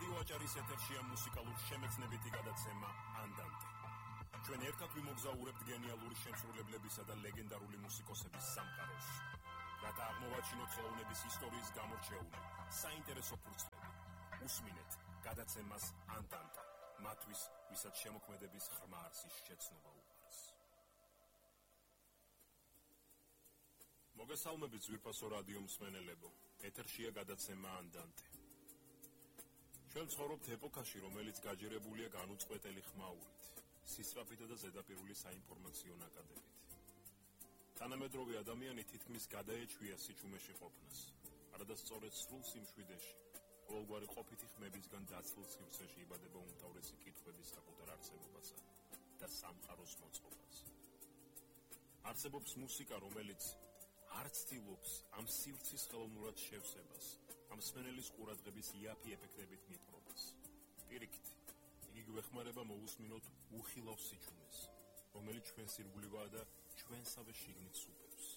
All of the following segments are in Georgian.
რადიო აჭარის ეთერშია მუსიკალური შემეცნებითი გადაცემა ანდანტე. ჩვენ ერთად ვიმოგზაურებთ გენიალური შემსრულებლებისა და ლეგენდარული მუსიკოსების სამყაროში. რათა აღმოვაჩინოთ ხელოვნების ისტორიის გამორჩეული საინტერესო ფურცლები. უსმინეთ გადაცემას ანდანტა. მათთვის, ვისაც შემოქმედების ღრმა არსის შეცნობა უყვარს. მოგესალმებით ძვირფასო რადიო მსმენელებო. ეთერშია გადაცემა ანდანტე. ჩვენ ცხოვრობთ ეპოქაში, რომელიც გაჯერებულია განუწყვეტელი ხმაურით, სისწრაფითა და ზედაპირული საინფორმაციო ნაკადებით. თანამედროვე ადამიანი თითქმის გადაეჩვია სიჩუმეში ყოფნას, არადა სწორედ სრულ სიმშვიდეში, ყოველგვარი ყოფითი ხმებისგან დაცლ სივრცეში იბადება უმთავრესი კითხვების საკუთარ არსებობასა და სამყაროს მოწყობას. არსებობს მუსიკა, რომელიც არ ცდილობს ამ სივრცის ხელოვნურად შევსებას, ამ მსმენელის ყურადღების იაფი ეფექტებით მიპყრობას. პირიქით, იგი გვეხმარება მოვუსმინოთ უხილავ სიჩუმეს, რომელიც ჩვენს ირგვლივაა და ჩვენსავე შიგნით სუპებს.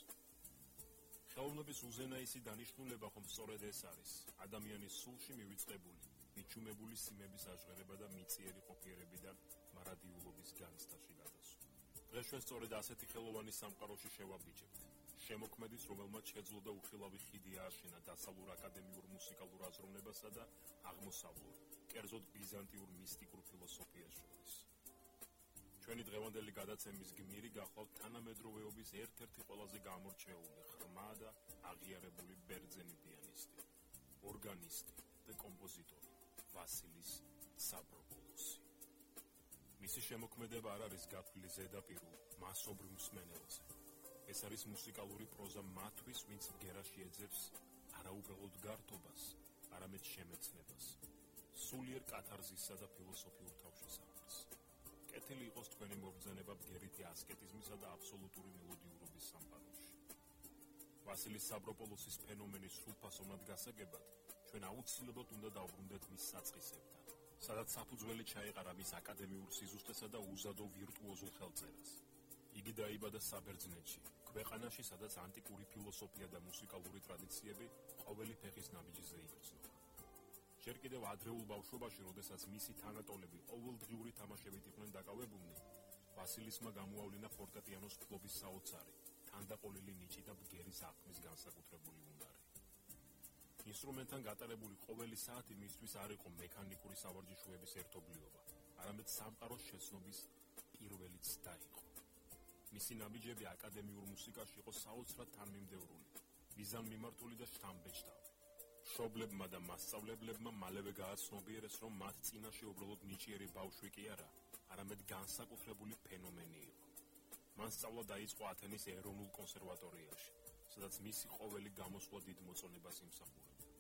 ხელოვნების უზენაესი დანიშნულება ხომ სწორედ ეს არის, ადამიანის სულში მივიწყებული, მიჩუმებული სიმების აჟღერება და მიწიერი ყოფიერებიდან მარადიულობის განცდაში გადასვლა. დღეს ჩვენ სწორედ ასეთი ხელოვანი სამყაროში შევაბიჯებთ. შემოქმედის, რომელმაც შეძლო და უხილავი ხიდი ააშენა დასავლურ აკადემიურ მუსიკალურ აზროვნებასა და აღმოსავლურ, კერძოდ ბიზანტიურ მისტიკურ ფილოსოფიას შორის. ჩვენი დღევანდელი გადაცემის გმირი გახლავთ თანამედროვეობის ერთ-ერთი ყველაზე გამორჩეული, ღრმა და აღიარებული ბერძენი პიანისტი, ორგანისტი და კომპოზიტორი ვასილის საბროპოლოსი. მისი შემოქმედება არ არის გათვლილი ზედაპირულ, მასობრივ მსმენელზე. ეს არის მუსიკალური პროზა მათთვის, ვინც ბგერაში ეძებს არაუბრალოდ გართობას, არამედ შემეცნებას, სულიერ კათარზისსა და ფილოსოფიურ თავშესაფარს. კეთილი იყოს თქვენი მობრძანება ბგერითი ასკეტიზმისა და აბსოლუტური მელოდიურობის სამყაროში. ვასილის საბროპოლოსის ფენომენის სრულფასოვნად გასაგებად, ჩვენ აუცილებლად უნდა დავბრუნდეთ მის საწყისებთან, სადაც საფუძველი ჩაეყარა მის აკადემიურ სიზუსტესა და უზადო ვირტუოზულ ხელწერას. იგი დაიბადა საბერძნეთში, ქვეყანაში, სადაც ანტიკური ფილოსოფია და მუსიკალური ტრადიციები ყოველი ფეხის ნაბიჯზე იგრძნობა. ჯერ კიდევ ადრეულ ბავშვობაში, როდესაც მისი თანატოლები ყოველდღიური თამაშებით იყვნენ დაკავებულნი, ვასილისმა გამოავლინა ფორტეპიანოს ფლობის საოცარი, თანდაყოლილი ნიჭი და ბგერის აღქმის განსაკუთრებული უნარი. ინსტრუმენტთან გატარებული ყოველი საათი მისთვის არ იყო მექანიკური სავარჯიშოების ერთობლიობა, არამედ სამყაროს შეცნობის პირველი ცდა იყო. მისი ნაბიჯები აკადემიურ მუსიკაში იყო საოცრად თანმიმდევრული, მიზანმიმართული და შთამბეჭდავი. მშობლებმა და მასწავლებლებმა მალევე გააცნობიერეს, რომ მათ წინაშე უბრალოდ ნიჭიერი ბავშვი კი არა, არამედ განსაკუთრებული ფენომენი იყო. მან სწავლა დაიწყო ათენის ეროვნულ კონსერვატორიაში, სადაც მისი ყოველი გამოსვლა დიდ მოწონებას იმსახურებდა.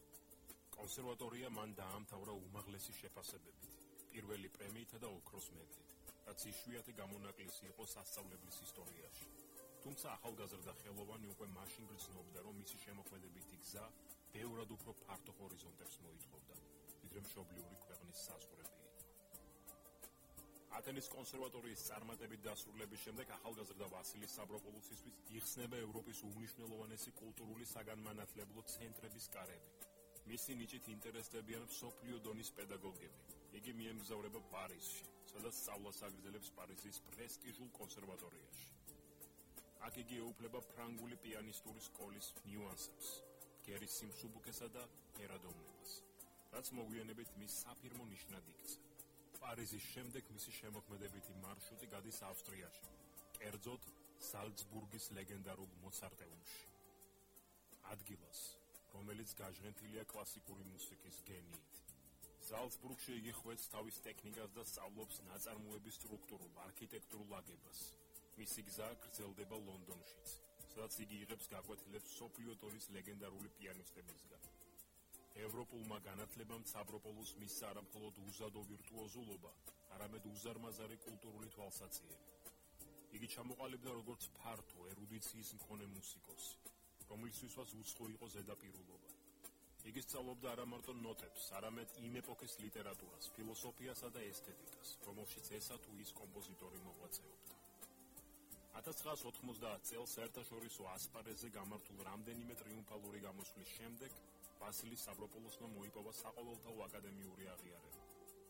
კონსერვატორია მან დაამთავრა უმაღლესი შეფასებებით, პირველი პრემიითა და ოქროს მედლით, რაც იშვიათი გამონაკლისი იყო სასწავლებლის ისტორიაში. თუმცა ახალგაზრდა ხელოვანი უკვე მაშინ გრძნობდა, რომ მისი შემოქმედებითი გზა ბევრად უფრო ფართო ჰორიზონტებს მოითხოვდა, ვიდრე მშობლიური ქვეყნის საზღვრები იყო. ათენის კონსერვატორიის წარმატებით დასრულების შემდეგ ახალგაზრდა ვასილის საბროპოლოსისთვის იხსნება ევროპის უმნიშვნელოვანესი კულტურული საგანმანათლებლო ცენტრების კარები. მისი ნიჭით ინტერესდებიან მსოფლიო დონის პედაგოგები. იგი მიემგზავრება პარიზში, სადაც სწავლას აგრძელებს პარიზის პრესტიჟულ კონსერვატორიაში. აქ იგი ეუფლება ფრანგული პიანისტური სკოლის ნიუანსებს, ბგერის სიმსუბუქესა და ერადოვნებას, რაც მოგვიანებით მის საფირმო ნიშნად იქცა. პარიზის შემდეგ მისი შემოქმედებითი მარშრუტი გადის ავსტრიაში, კერძოდ ზალცბურგის ლეგენდარულ მოცარტეუმში. ადგილას, რომელიც გაჟღენთილია კლასიკური მუსიკის გენიით. ზალცბურგში იგი ხვეწს თავის ტექნიკას და სწავლობს ნაწარმოების სტრუქტურულ, არქიტექტურულ აგებას. მისი გზა გრძელდება ლონდონშიც, სადაც იგი იღებს გაკვეთილებს მსოფლიო დონის ლეგენდარული პიანისტებისგან. ევროპულმა განათლებამ საბროპოლოს მისცა არა მხოლოდ უზადო ვირტუოზულობა, არამედ უზარმაზარი კულტურული თვალსაჩინო. იგი ჩამოყალიბდა როგორც ფართო ერუდიციის მქონე მუსიკოსი, რომლისთვისაც უცხო იყო ზედაპირულობა. იგი სწავლობდა არა მარტო ნოტებს, არამედ იმ ეპოქის ლიტერატურას, ფილოსოფიასა და ესთეტიკას, რომელშიც ესა თუ ის კომპოზიტორი მოღვაწეობდა. 1990 წელს საერთაშორისო ასპარეზზე გამართულ რამდენიმე ტრიუმფალური გამოსვლის შემდეგ ვასილი სავროპოლოსმა მოიპოვა საყოველთაო აკადემიური აღიარება.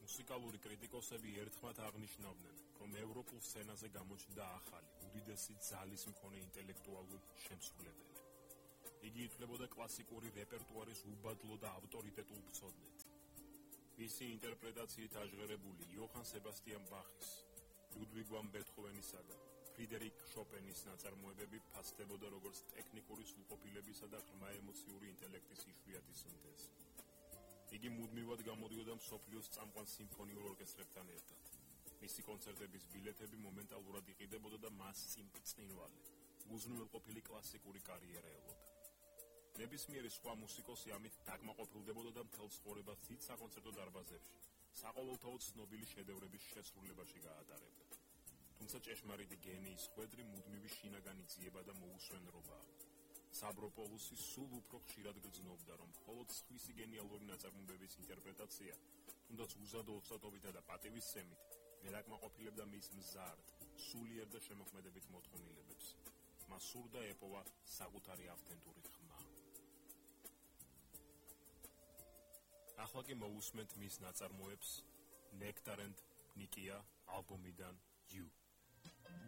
მუსიკალური კრიტიკოსები ერთხმად აღნიშნავდნენ, რომ ევროპულ სცენაზე გამოჩნდა ახალი, უდიდესი ძალის მქონე ინტელექტუალური შემსრულებელი. იგი ითვლებოდა კლასიკური რეპერტუარის უბადლო და ავტორიტეტულ მცოდნედ. მისი ინტერპრეტაციით აჟღერებული იოჰან სებასტიან ბახის, ლუდვიგ ვან ბეთჰოვენისა და ფრიდერიკ შოპენის ნაწარმოებები ფასდებოდა როგორც ტექნიკური სრულყოფილებისა და ღრმა ემოციური ინტელექტის იშვიათი სინთეზი. იგი მუდმივად გამოდიოდა მსოფლიოს წამყვან სიმფონიურ ორკესტრებთან ერთად. მისი კონცერტების ბილეთები მომენტალურად იყიდებოდა და მას წინვალი, უზრუნველყოფილი კლასიკური კარიერა ელოდა. ნებისმიერი სხვა მუსიკოსი ამით დაკმაყოფილდებოდა და მთელ ცხოვრებას დიდ საკონცერტო დარბაზებში, საყოველთაო ცნობილი შედევრების შესრულებაში გაატარებდა. თუმცა ჭეშმარიტი გენიის ხვედრი მუდმივი შინაგანი ძიება და მოუსვენრობაა. სავროპოლოსი სულ უფრო ხშირად გრძნობდა, რომ მხოლოდ სხვისი გენიალური ნაწარმოებების ინტერპრეტაცია, თუნდაც უზადო ოცნებითა და პატივისცემით, ვერ აკმაყოფილებდა მის მზარდ, სულიერ და შემოქმედებით მოთხოვნილებებს. მას სურდა ეპოვა საკუთარი ავთენტური ხმა. ახლა კი მოусმენთ მის ნაწარმოებს Nectar and Nikia ალბომიდან You.